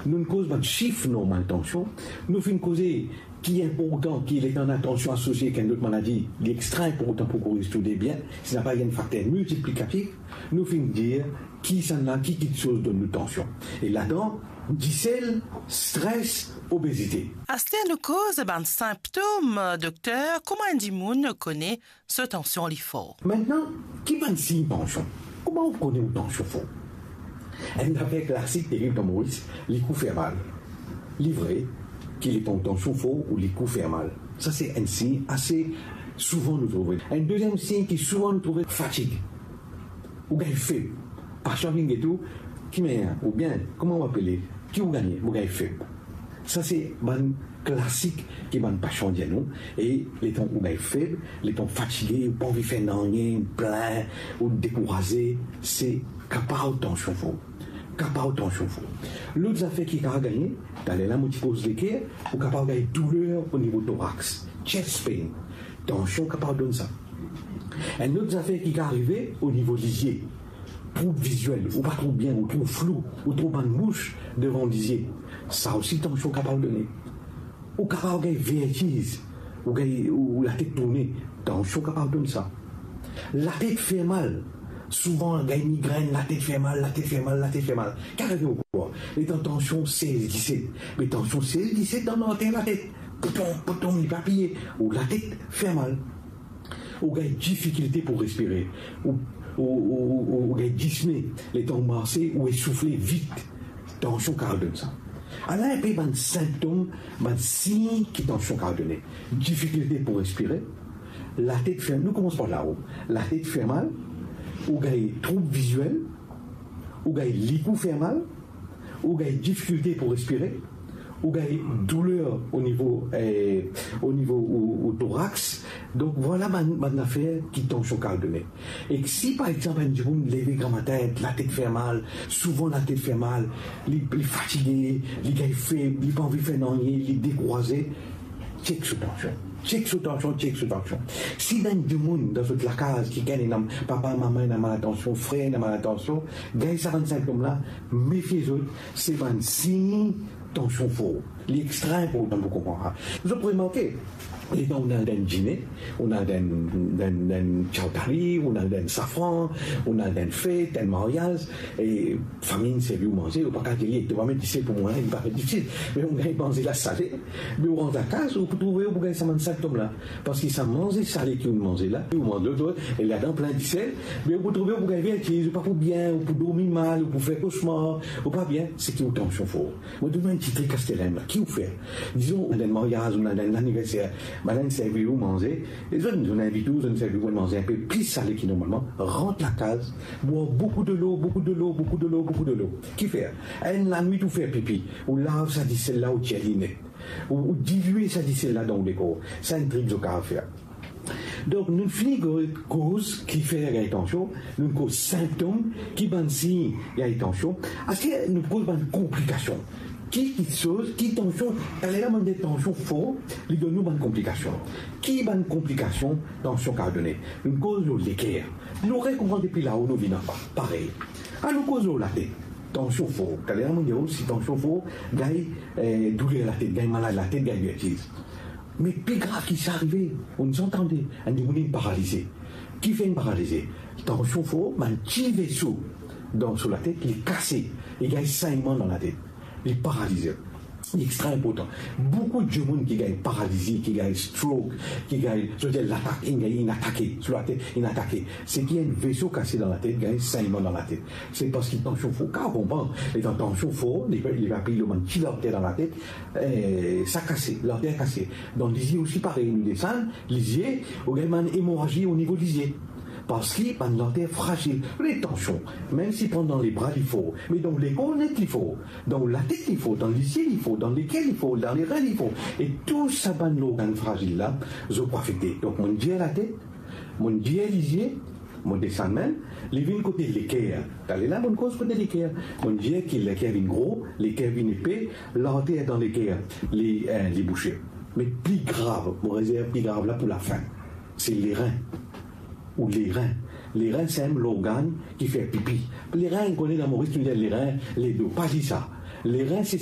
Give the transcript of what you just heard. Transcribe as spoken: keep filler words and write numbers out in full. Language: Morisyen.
Nou'nn koz bann sif normal tansion, nou finn koze ki inportan, ki letan ena tansion asosie ek enn lot maladi, li extra inportan pou koz tou de bien, si napa enn fakter miltiplikatif, nou finn dir kisannla, ki kiksoz donn nou tansion. E ladan, disel, stres, obezite. Aster nou koz bann sinptom, dokter, kouma enn dimoun kone so tansion li for. Mintnan, ki bann sign tansion? Kouma ou kone ou tansion for? Enn zafer klasik terib dan Moris, likou fer mal. Li vre ki letan tansion for ou likou fer mal. Sa se enn sign ase souvan nou trouve. Enn deziem sign ki souvan nou trouve, fatig. Ou gagn feb. Pasian vinn get ou, ki manier, oubien, kouma ou apele, ki ou gagne, ou gagn feb. Sa se bann klasik ki bann pasian dir nou, e letan ou gagn feb, letan ou fatige, ou pa anvi fer nanye, ou plin, ou dekouraze, se kapav tansion for. Kapav tansion for. Lot zafer ki kapav gagne, taler la mo ti koz leker, ou kapav gagn douler o nivo torax, chest pain. Tansion kapav donn sa. Enn lot zafer ki kapav arive o nivo lizie, troub viziel, ou pa trouv bien, ou trouv flou, ou trouv bann mous devan lizie. Sa osi tansion kapav done. Ou kapav gagn vertiz, ou gagn, ou, ou latet tourne, tansion kapav donn sa. Latet fer mal, souvan gagn migrenn, latet fer mal, latet fer mal, latet fer mal. Ki arive ou krwar? Letan tansion sez, diset. Me tansion sez, diset dan larter latet. Poutom, poutom, li pa piye. Ou latet fer mal. Ou gagn difikilte pou respire. Ou, ou, ou, ou, ou gagn disne. Letan ou marse, ou esoufle vit. Tansion kapav donn sa. Ala inpe bann sinptom, bann sign ki tansion kapav done. Difikilte pou respire, latet fer, nou koumans par lao. Latet fer mal, ou gagn troub viziel, ou gagn likou fer mal, ou gagn difikilte pou respire, ou gagn douler o nivo, eh, o nivo ou, ou torax. Donk, vwala bann, bann zafer ki tansion kapav done. E si, par exanp, enn dimoun leve gramatin, latet fer mal, souvan latet fer mal, li, li fatige, li gagn feb, li pa anvi fer nanye, li dekouraze, chek so tansion. Chek so tansion, chek so tansion. Si ena enn dimoun dan zot lakaz ki gagn ena papa, mama ena maltansion, frer ena maltansion, gagn sa bann sinptom la, mefie zot, se bann sign tansion for. Li extra inportan pou konpran sa. Zot pou remarke, letan ou al dan enn dine, ou al dan, dan, dan chowdhury, ou al dan safran, ou al dan fet, dan maryaz, e fami inn servi ou manze, ou pa kapav dir li, to pa met disel pou mwa, li pa met disel. Me ou gagn manze la sale, me ou rant lakaz, ou pou trouve ou pou gagn sa bann sinptom la. Parski sa manze sale ki ou manze la, ou manz lot, lot, e ladan plin disel, me ou pou trouve ou pou gagn vertiz, ou pa pou bien, ou pou dormi mal, ou pou fer kosmar, ou pa bien, seki ou tansion for. Mo donn ou enn ti trik aster la, ki ou fer? Dizon, ou dan maryaz, ou dan laniverser, bann la inn servi ou manze, e zot, zot inn invit ou, zot inn servi ou manze inpe plis sale ki normalman, rant lakaz, bwar boukou delo, boukou delo, boukou delo, boukou delo. Ki fer? Enn lanwit ou fer pipi, ou lav sa disel la, ou tir li net. Ou, ou dilye sa disel la dan ou lekor. Sa enn trik zot kapav fer. Donk, nou fini koz ki fer gagn tansion, nou koz sinptom, ki bann sign gagn tansion. Aster nou koz bann konplikasion. Ki, ki soz, ki tansion, taler la mo dir tansion for, li donn nou bann konplikasion. Ki bann konplikasion tansion kapav done? Nou koz lor leker. Nou rekonpran depi lao nou vinn anba. Parey. Anou koz lor latet. Tansion for. Taler la mo dir ou, si tansion for, gagn, eh, douler latet, gagn malad latet, gagn vertiz. Me pli grav ki sa arive, ou inn tande, enn dimoun inn paralize. Ki fer inn paralize? Tansion for, bann ti veso dan so latet, li kase, li gagn saynman dan latet. Li paralize. Li extra inportan. Boukou dimoun ki gagn paralizi, ki gagn stroke, ki gagn, zot dir latak, inn gagn, inn atake, so latet, inn atake. Seki enn veso kase dan latet, gagn saynman dan latet. Se parski tansion for, kan ou konpran, letan tansion for, li, li pa pli lor bann ti larter dan latet, eh, sa kase, larter kase. Dan lizie osi parey, nou desann lizie, ou gagn bann emorazi o nivo lizie. Parski bann larter frazil. Retansion, mem si pran dan lebra li for, me dan lekor net li for, dan latet li for, dan lizie li for, dan leker li for, dan lerin li for. E tou sa bann lorgann frazil la, zot pou afekte. Donk, mo dir latet, mo dir lizie, mo desann mem, li vinn kote leker. Taler la, mo koz kote leker. Mo dir ki leker vinn gro, leker vinn epe, larter dan leker, li, eh, li bouse. Me pli grav, mo rezerv pli grav la pou lafin. Se lerin. Ou lerin. Lerin, se enn lorgann ki fer pipi. Lerin, ou kone dan Moris, nou dir lerin, ledo. Pa dir sa. Lerin, se